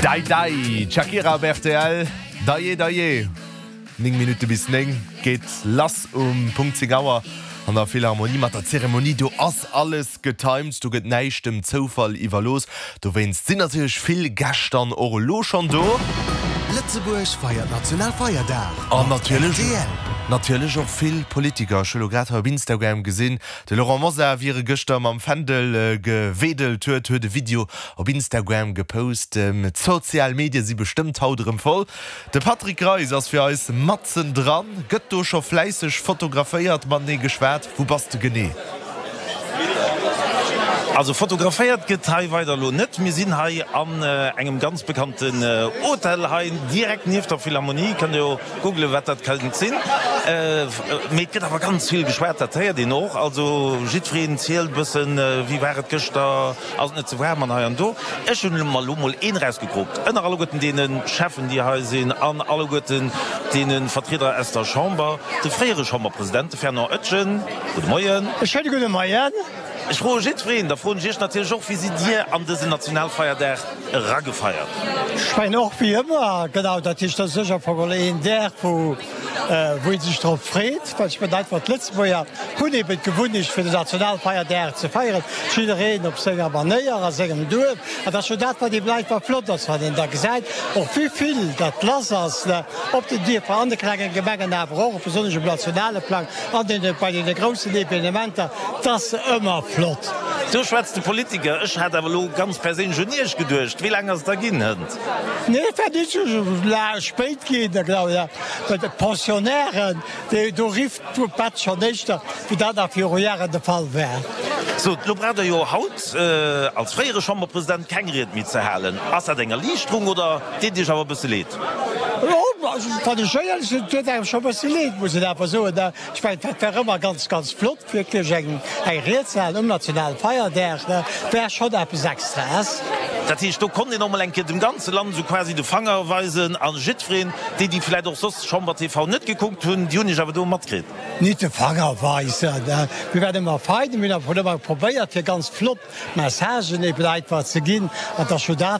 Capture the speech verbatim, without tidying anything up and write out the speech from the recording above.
Dai Dai, d'Shakira op rtl, Daje Daje. Néng Minutte bis néng geet lass um Punkt zéng Auer an der Philharmonie mat der Zeremonie. Do ass alles getimed, do gëtt näischt dem Zoufall iwwerlooss. Dowéinst sinn natierlech vill Gäscht dann och elo schonn do. Lëtzebuerg feiert Nationalfeierdag An mat natierlech rtl. natierlech och vill Politiker. Ech hu lo grad hei op Instagram gesinn, de Laurent Mosar, wéi e gëschter mam Fändel gewedelt huet, huet e Video op Instagram gepost. D'sozial Medie si bestëmmt haut erëm voll. De Patrick Greis ass fir eis matzen dran, gëtt do scho fläisseg fotograféiert, matenee geschwat. Wou bass de genee? Also fotograféiert gëtt hei weider elo net. Mir sinn hei an engem ganz bekannten Hotel hei direkt nieft der Philharmonie. Kënnt der jo googlen, wat dat kéint sinn. Mee et gëtt awer ganz vill geschwat, dat héiert een och. Also jiddwereen zielt e bëssen, wéi war et gëschter, ass et net ze waarm an hei an do. Ech hunn mer elo mol een erausgekroopt ënner alleguerten deene Cheffen, déi hei sinn an alleguerten deene Vertrieder aus der Chamber, de fréiere Chamberpresident, de Fernand Etgen. Gudde Moien. E schéine gudde Moien. Ech froe jiddwereen, da froen ech Iech natierlech och, Wéi sidd Dir an dësen Nationalfeierdag eragefeiert? Ech mengen och wéi ëmmer, genau, dat heescht, dat ass sécher am Fong geholl een Dag, wou wou ee sech drop freet, well ech mengen einfach, d'Lëtzebuerger hunn eben d'Gewunnecht, fir den Nationalfeierdag ze feieren, jiddereen op senger Manéier, a sengem Duerf. An dat ass jo dat, wat eben einfach flott ass, wann een da gesäit, och wéi vill dat lass ass op den Dierfer, an de klengen Gemengen, awer och besonnesch um nationale Plang an deene bei deene groussen Evenementer. 't ass ëmmer flott. Do schwätzt de Politiker. Ech hat awer elo ganz perséinlech un Iech geduecht. Wéi laang ass et da ginn hënt? Nee, et war net esou laang spéit ginn. Da glawen ech, bei de Pensionnairen, déi do rifft d'Bett schonn éischter, wéi dat nach viru Jaren de Fall war. Sot, elo braucht Der jo haut als fréiere Chamberpresident keng Ried méi ze halen. Ass dat eng Erliichterung oder deet et Iech awer e bësse leed? Wann ech éierlech sinn, et deet engem scho e bësse leed, muss een awer soen. Ech mengen, dat war ëmmer ganz, ganz flott, wierklech eng Ried ze halen um Nationalfeierdag, war schonn eppes Extraes. Dat heescht, do konnt een och mol eng Kéier dem ganze Land esou quasi de Fanger weisen a jiddwereen, déi, déi vläicht och soss Chamber T V net gekuckt hunn, déi hunn Iech awer do matkritt. Nit de Fanger weisen, mir waren ëmmer fein, mir hunn awer ëmmer probéiert, fir ganz flott Messagen eben einfach ze ginn, an et ass jo dat,